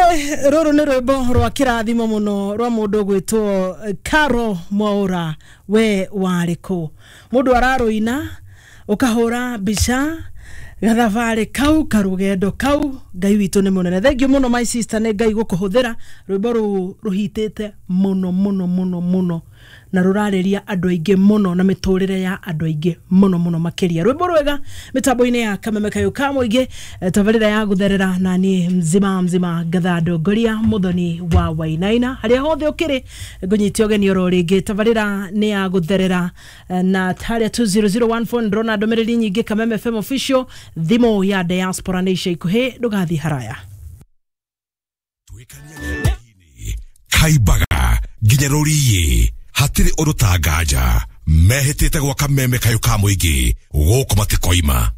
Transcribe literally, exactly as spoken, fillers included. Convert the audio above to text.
Rũrũ nĩ rwĩmbo rwa kĩrathimo mũno rwa mũndũ ũgwĩtwo Caro Mwaura, we warĩ kũ? Mũndũ ararũina ũkahũra mbica gathabarĩ kau karũgendo kau. Ngai witũ nĩ mũnene. Thank you mũno, my sister, nĩ Ngai gũkũhũthĩra. Rwĩmbo rũu rũhitĩte mũno mũno mũno mũno na rũrarĩria andũ aingĩ mũno na mĩtũrĩre ya andũ aingĩ mũno mũno makĩria. Rwĩmbo rwega mĩtambo-inĩ ya Kameme Kayũ ka mũingĩ, eh, tabarĩra ya gũtherera na niĩ mzima mzima ngatha ndongoria Mũthoni wa Wainaina. Harĩa hothe ũkĩrĩ, ngũnyitie ũgeni oro rĩngĩ. Tabarĩra nĩ ya gũtherera eh, na harĩa two zero zero one four. Ndĩrona ndũmĩrĩri nyingĩ Kameme F M official. Thimũ ya diaspora nĩ ica ikuhĩ, ndũgathiĩ haraya. Kaimbaga nginya rũriĩ hatirĩ ũndũ ta nganja mehĩtĩte gwaka meme kayũ ka mũingĩ gũkũ matikoima.